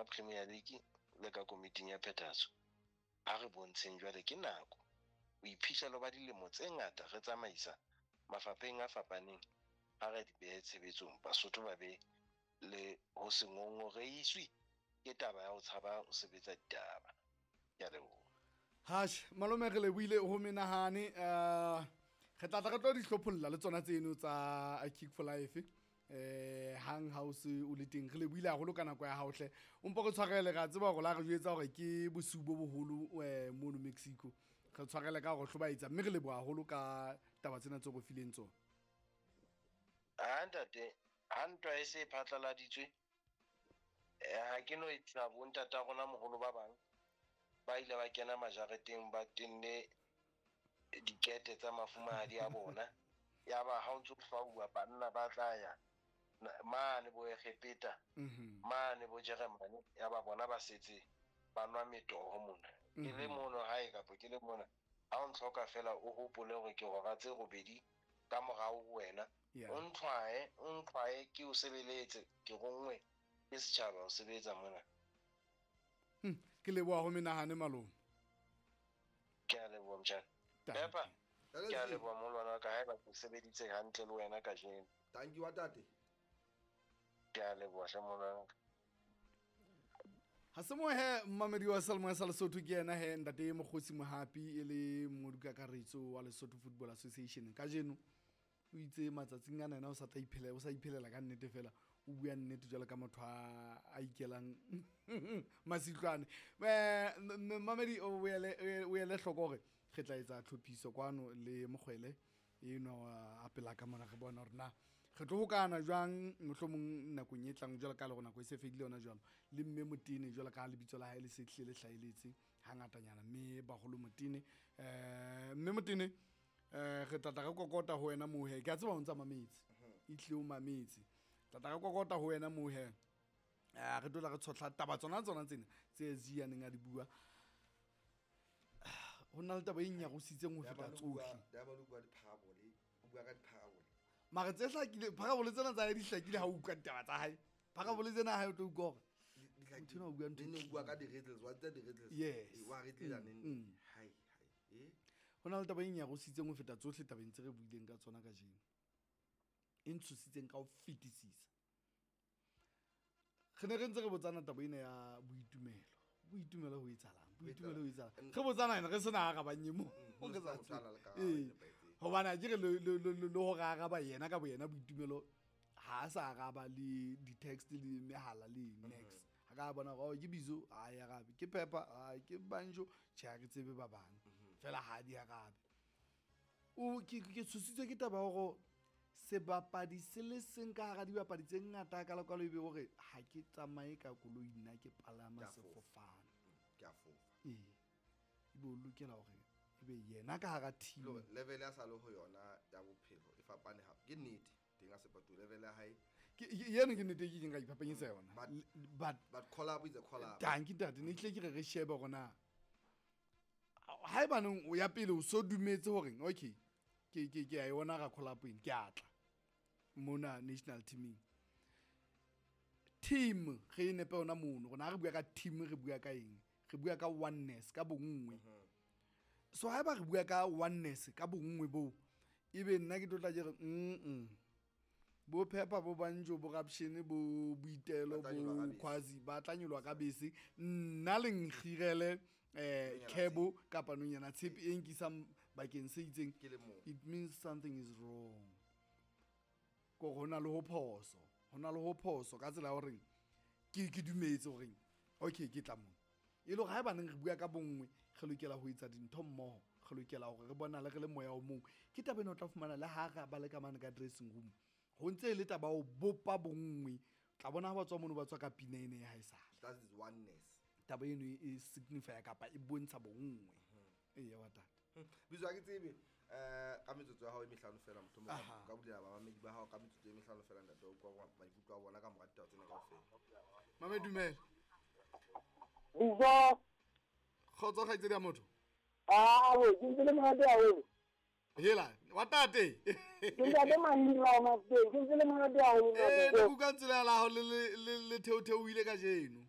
Ka Premier League le ka komiting ya phethahatso, a re bontsheng jwale ke nako. Boiphihlelo ba dilemo tse ngata re tsamaisa mafapheng a fapaneng, ha re di behe tshebetsong, Basotho ba be le ho se ngongorehiswe ke taba ya ho tshaba ho sebetsa ditaba. Ke a leboha. Hash, malome re lebohile ho menahane. Re tla tla re tlo di hlopholla le tsona tseno tsa Kick for Life. Hang ha o se o le teng, re lebohile haholo ka nako ya hao hle. O mpo re tshwarele, re a tseba hore la re jwetsa hore ke bosiu bo boholo mono Mexico. Re tshwarele ka hore hlobaetsa, mme re leboha haholo ka taba tsena tseo re fileng tsona. Ha ntate, ha ntwa e se e phatlaladitswe, ha ke no etsa bo ntata rona moholo ba bang ba ile ba kena majareteng ba tenne dikete tsa mafumahadi a bona. Ya ba ha o ntso fauwa banna ba tla ya mane bo Egepeta, mane bo Jeremane, ya ba bona ba setse ba nwa metoho mona. Ke le mono hae kapa ke le mona, ha o ntlhoka fela o hopole hore ke hora tse robedi ka morao ho wena. O ntlhwae, o ntlhwae ke o sebeletse, ke ronngwe ke setjhaba ho sebetsa mona. Ke leboha ho menahane malome. Ke a leboha motjhana. Pepa, ke a leboha molwana wa ka, haeba ke sebeditse hantle le wena kajeno. Thank you wa tate. Ke a leboha hle molwana wa ka. Ha se mo he mmamedi wa Salmo sa Lesotho ke yena he ntate Mokgosi Mohapi e le mongodi kakaretso wa Lesotho Football Association. Kajeno o itse matsatsing ana yena o sa tla iphelela, o sa iphelela ka nnete fela, o bua nnete jwalo ka motho a ikelang masitlwane. Mmamedi o ele hloko hore re tla etsa tlhophiso kwano le Mokgwele enwa a pela ka mona, re bona hore na re tlo hokana jwang mohlomong nakong e tlang jwalo ka le hore nako e se fedile yona jwalo, le mme Motene jwalo ka lebitso la hae le se hlile le hlaheletse hangatanyana, mme baholo Motene. Mme Motene, re tla tla re kokota ho wena moo he, ke a tseba o ntsa mametse, e tlile o mametse, tla tla re kokota ho wena moo he. Re tlo tla re tshohla taba tsona tsona tsena tse Zee a neng a di bua. Ho na le taba e nyarositseng ho feta tsohle. Diamond o bua dipharabole, o bua ka dipharabole. Mara tse hlakile, pharabole tsena tsa hae di hlakile ha o utlwa ditaba tsa hae. Pharabole tsena ha o tlo utlwa hore Di hlakile. motho enwa o bua ntho e Neng neng o bua ka di-riddles, wa tseba di-riddles? Yes. Wa riddle neng? Hai, hai. Ho na le taba e nyarositseng ho feta tsohle tabeng tse re buileng ka tsona kajeno. E ntshositseng ka ho fetisisa. Re ne re ntse re botsana taba ena ya boitumelo. Boitumelo ho etsahalang? Boitumelo ho etsahalang? Re botsana ena re sena arabang e mong. Re sa Ho tshwana le karabo e nepahetseng. Hobane ha ke re le hore araba yena ka boyena boitumelo ha a sa araba le di-text le mehala le next. Ha ka bona hore, oh, ke Bizo, ha e arabe. Ke Pepper, ha ke Banjo, tjhe, ha ke tsebe ba bang. Fela ha di arabe. O, ke tshositswe ke taba ya hore sebapadi se le seng ka hara dibapadi tse ngata ka lekwalo ebe hore ha ke tsamaye ka koloi nna ke palama Ke a fofa. sefofane. Ke a fofa. Ebe o lokela hore ebe yena ka hara team. Look, level ya sa le ho yona ya bophelo e fapane ha. Ke nnete teng a sepatu level ya hae. Ke, yeno ke nnete e ke ileng ka iphapanyetsa yona. But But but collab is a collab. Tanki ntate, ne tle ke re re shebe hore na haebaneng o ya pele o so dumetse hore okay, ke a yona ra collab ena, ke a tla mona national teaming. Team re e nepe yona mono, rona ha re bua ka team re bua ka eng? Re bua ka oneness, ka bonngwe. So haeba re bua ka oneness, ka bonngwe boo, ebe nna ke tlo tla ke re, Bo Pepper, bo Banjo, bo Rapshene, bo Boitelo, Ba tla nyoloha bo ka bese. Khwazi, ba tla nyoloha ka bese. Nna le nkgirele, Nonyana kebo tshepe. kapa nonyana tshepe e nkisang bakeng se itseng. Ke le mong. It means something is wrong. Ko ho na le ho phoso. Ho na le ho phoso ka tsela ya horeng ke dumetse horeng okay ke tla mona. E le hore haebaneng re bua ka bonngwe, re lokela ho etsa dintho mmoho, re lokela hore re bonale re le moya o mong. Ke taba ena o tla fumana le ha re ba le ka mane ka dressing room. Ho ntse e le taba ya ho bopa bonngwe. Tla bona ha ba tswa mono ba tswa ka pina ena ya haesale. That is oneness. Taba eno e signify kapa e bontsha bonngwe. Eya wa tata. Bizo ha ke tsebe, ka metsotso ya hao e mehlano fela, mohlomong ka bulela bamamedi ba hao ka metsotso e mehlano fela, ntate, o utlwa maikutlo a bona ka mora ditaba tsena kaofela. Mame, dumela. Bizo. Kgotso kgaitsedi ya motho. Awe, ke ntse le monate haholo. Hela, wa tate. Ke ntate Mandela wa Mafeteng, ke ntse le monate haholo nna, Ne Bizo. kuka tsela ya laho le theotheohile kajeno.